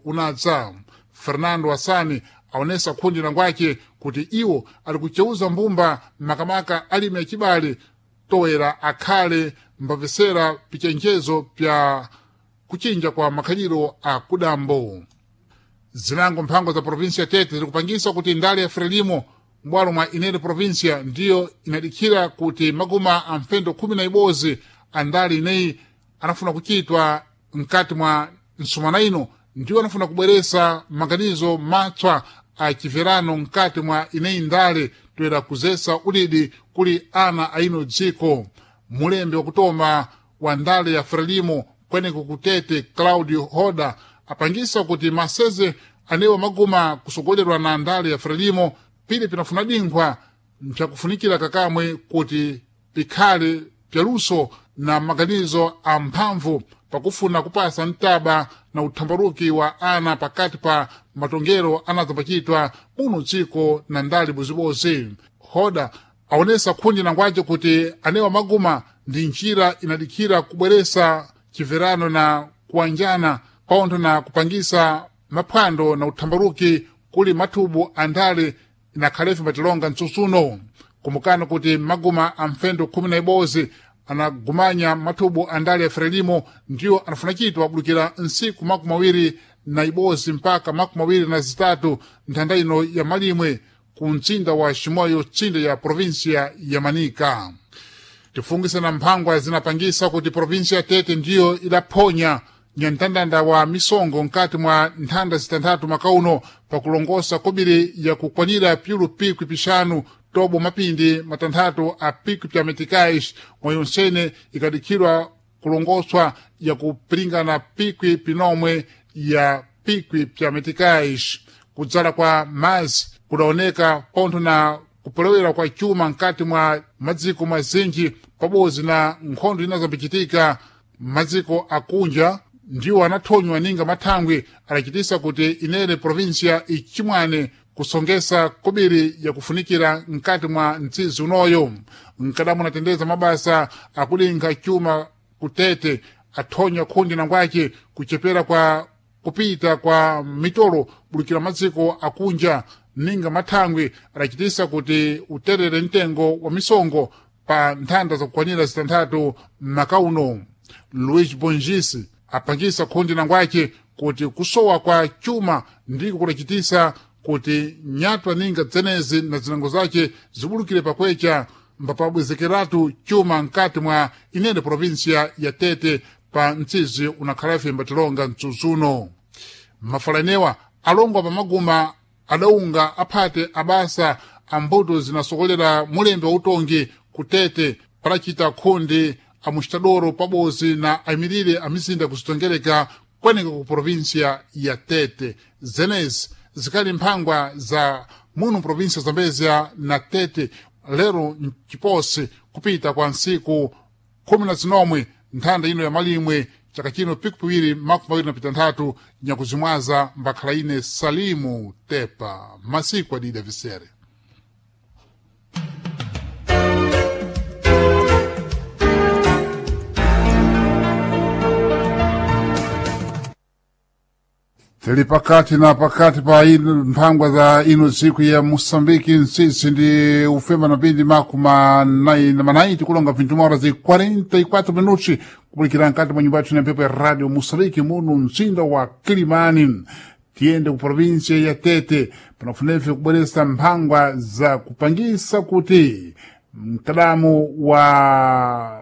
Unadza. Fernando Hassani aonesa khundi langwake kuti iwo ali kuceuza mbumba makamaka alimi acibale toera akhale mbapesera pichenjezo pya kuchinja kwa makhaliro a kudambo. Zinango mphango za provinsia ya Tete zikupangisa kuti ndale ya Frelimo m'bwalo mwa inene provinsia ndiyo inadikhira kuti maguma a mfendo 11 a ndale ineyi anafuna kuchitwa mkati mwa nsumana ino, ndiwo anafuna kubweresa maganizo matswa a chiverano mkati mwa ineyi ndale toera kuzesa udidi kuli ana a ino dziko. Mulembe wakutoma wa ndale ya Frelimo kweneko kutete Claudio Hoda apangisa kuti maseze anewa maguma kusogolerwa na ndale ya Frelimo pili pinafuna dinkhwa mpyakufunikira kakamwe kuti pikhale pyaluso na maganizo a mphamvu pakufuna kupasa mtaba na uthambaruki wa ana pakati pa matongero anadzapachitwa muno dziko na ndale bozibozi. Hoda aonesa khundi nangwace kuti anewa maguma ndi njira inadikhira kubweresa chiverano na kuwanjana paontho na kupangisa maphwando na uthambaruki kuli mathubu a ndale inakhalefe mbatilonga mtsutsuno. Kumbukani kuti maguma a mfendo 11 anagumanya mathubu a ndale ya Frelimo ndiwo anafuna chitwa abulukira nsiku 21 mpaka 23 nthanda ino ya malimwe ku mtsinda wa Chimoio, tsinde ya provinsia ya Manika. Tifungise na mphangwa zinapangisa kuti provinsia ya Tete ndiyo idaphonya nyamtandanda wa misongo mkati mwa nthanda zitanthatu makauno pakulongosa kobiri ya kukwanira pyulu pikwi pixanu tobo mapindi matanthatu a pikwi pya meticais, mwayonsene ikadikhirwa kulongoswa ya kupiringana pikwi pinomwe ya pikwi pya meticais. Kudzala kwa mazi kudaoneka pontho na kupolewera kwa chuma mkati mwa madziko mazinji pabodzi na nkhondo inazambichitika madziko akunja ndiwo anathonywa ninga mathangwi adachitisa kuti inene provinsia ichimwane kusongesa kobiri yakufunikira mkati mwa mtsizi unoyo. Mkadamu anatendeza mabasa akudinkha chuma kutete athonya khundi nangwace kuchepera kwa kupita kwa mitolo bulukira madziko akunja ninga mathangwi adachitisa kuti uterere mtengo wa misongo pa nthanda zakukwanira zitanthatu m'makauno. Luis Bongisi apangisa khundi nangwace kuti kusowa kwa chuma ndiko kudachitisa kuti nyatwa ninga dzenezi na zinango zace zibulukire pakwecha mbapabwezekeratu chuma mkati mwa inene provinsia ya Tete pa mtsizi unakhalafe mbatilonga mtsutsuno. Mafalanewa alongwa pamaguma adaunga aphate abasa ambuto zinasokolera mulembe wa utongi kutete palachita khundi amuxitadoro pabodzi na ayimirire a mizinda kuzitongereka kweneka ku provinsia ya Tete. Zenezi zikali mphangwa za muno provinsia Zambezia na Tete lero mciposi kupita kwa nsiku 19 nthanda ino ya malimwe chaka chino piku piwiri 2026 nyakuzimwaza mbakhala ine Salimu Tepa masiku adida visere. Tili pakati na pakati pa ino mphangwa za ino tsiku ya Moçambique ntsitsi ndi ufema na pindi makumi manayi tikulonga 21 horas e 44 minutos kupulikira mkati mwa nyumba yathu na mphepo ya Radio Moçambique muno mzinda wa Kilimani. Tiyende ku provinsia ya Tete panafunefe kubweresa mphangwa za kupangisa kuti mkadamu wa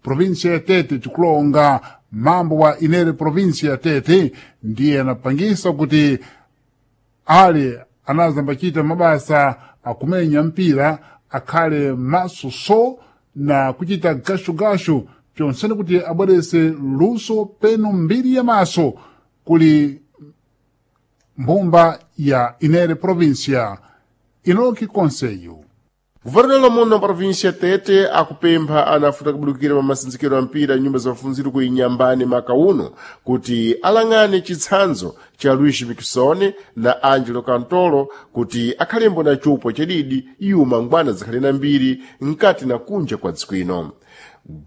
provinsia ya Tete tikulonga mambo wa inere provinsia ya Tete ndiye anapangisa kuti ali anazambachita mabasa akumenya mpira akhale maso so na kuchita gashugashu pyonsene kuti abwerese luso peno mbiri ya maso kuli mbumba ya inere provinsia. Inoki Conselho. Guvernelo muno província Tete akupempha ana afuta kubudukira pa masinzikiro a mpira nyumba za mafunziro ku Inyambani maka uno kuti alang'ane chitsanzo cha Luis Miquissone na Angelo Cantolo kuti akhalembo na chupwa chadidi iwo mangwana zikhale na mbiri mkati na kunja kwa dziko ino.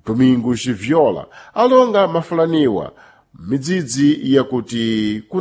Domingos Viola alonga mafulaniwa midzidzi yakuti kuna